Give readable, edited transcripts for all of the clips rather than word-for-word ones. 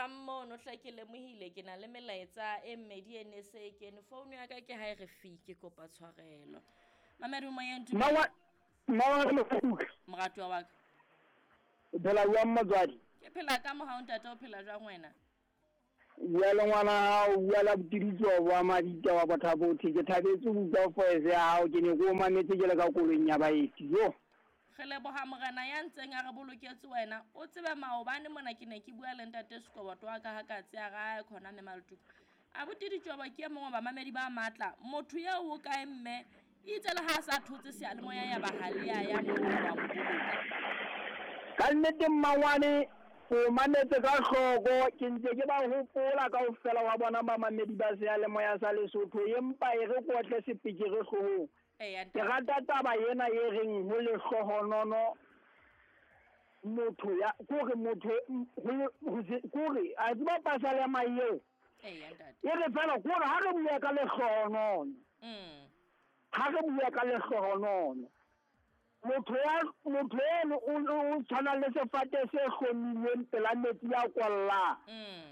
Jwang mono hle ke lemohile ke na le melaetsa e mmedi e ne se e kene. Founu ya ka ke ha e re fi ke kopa tshwarelo. Mamedi moyeng dumela. Mmawa Moratuwa wa ka. O phela jwang motswadi? Ke phela ka mohau ntate, o phela jwang wena? Bua le ngwana hao, bua le Botiditso wa Mabita wa Bothabothe. Ke thabetse ho utlwa voice ya hao, ke ne ke o mametse ke le ka koloing ya baeti. Yo. Re leboha Morena ya ntseng a re boloketse wena. O tsebe maobane mona ke ne ke bua le ntate Sekoboto wa ka ha katse a re ae khona mme Maletuka. Abuti Ditjobo ke e mong wa bamamedi ba matla. Motho eo o kae mme? Itse le ha a sa thotse seyalemoya ya ba ha le ya ya moo wa mo boloka. Ka nnete mmangwane o mametse ka hloko, ke ntse ke ba hopola kaofela wa bona bamamedi ba seyalemoya sa Lesotho, empa e re kotle sepekere hloohong. Eya Ke ntate. rata taba ena e reng ho lehlohonono motho ya kore motho kore a tseba pasalema eo. Eya ntate. E re fela kore ha re bua ka lehlohonono. Ha re bua ka lehlohonono. Motho ya motho eno o tshwana le sefate se hlomilweng pela metsi a kwallang.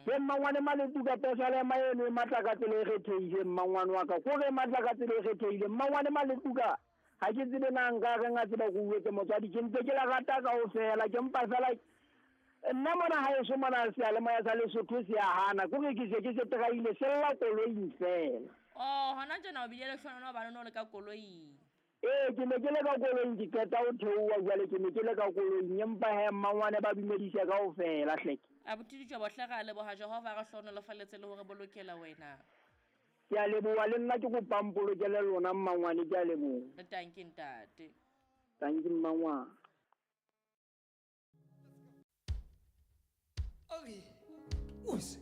Ke mmangwane Maletuka pesalema eno e matla ka tsela e kgethehileng mmangwane wa ka. Kore e matla ka tsela e kgethehileng mmangwane Maletuka. Ha ke tsebe na nka reng a tseba ke uetse motswadi, ke ntse ke la rata kaofela, ke mpa fela nna mona haeso mona seyalemoya sa Lesotho se a hana, kore ke se ke se traile se lla koloing fela. Oh, hona tjena o bile lehlohonolo hobane o no le ka koloing. Ee, ke ne ke le ka koloing, ke qeta ho theoha jwale, ke ne ke le ka koloing, empa he mmangwane ba dumedise kaofela hleke. Abuti Ditjobo hle re a leboha Jehova a re hlohonolofaletse le hore bolokela wena. Ke a leboha le nna ke kopa mpolokele lona mmangwane, ke a leboha. Tanki ntate. Tanki mmangwane. Okay. Us.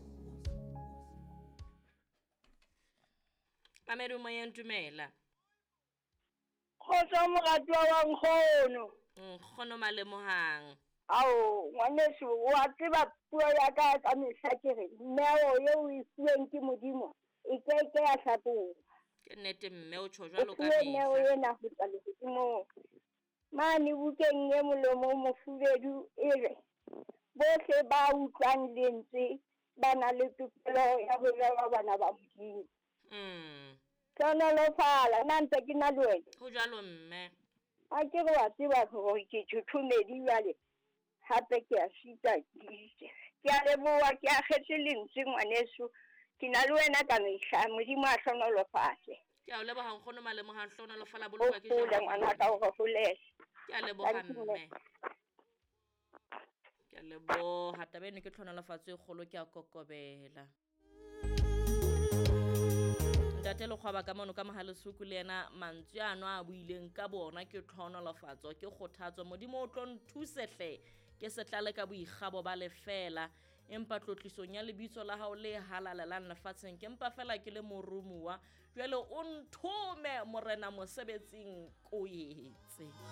Mamedi moyeng dumela. Kgotso moratuwa wa nkgono. Nkgono Malemohang. Ao, ngwaneso, wa tseba puo ya ka ka mehla ke re neo eo o e fuweng ke Modimo e keke ya hlakoha. Ke nnete mme o tjho jwalo ka O fuwe neo mehla. ena ho tswa lehodimong. Mane bukeng e molomo o mofubedu e re bohle ba utlwang lentswe ba na le tokelo ya ho bewa bana ba Modimo. Hlohonolofala, nna ntse ke na le wena. Ho jwalo mme. Ha ke re wa tseba hore ke thothomedi jwale, hape ke a sita ke a leboha, ke akgetse lentswe ngwaneso. Ke na le wena ka mehla, Modimo a hlohonolofatse. Ke a o leboha nkgono Malemohang, hlohonolofala bolokwa ke O hole Jehova. ngwanaka, o re holele. Ke a leboha Thank you, mme. Ke a leboha, taba eno ke tlhonolofatso e kgolo, ke a kokobela. Ntate Lekgwaba ka mono ka Mohalesuku le yena mantswe ano a buileng ka bona ke tlhonolofatso, ke kgothatso. Modimo o tlo nthuse hle, ke se tlale ka boikgabo ba lefela, empa tlotlisong ya lebitso la hao le halalelang lefatsheng, ke mpa fela ke le moromuwa. Jwale o nthome Morena mosebetsing ko etse.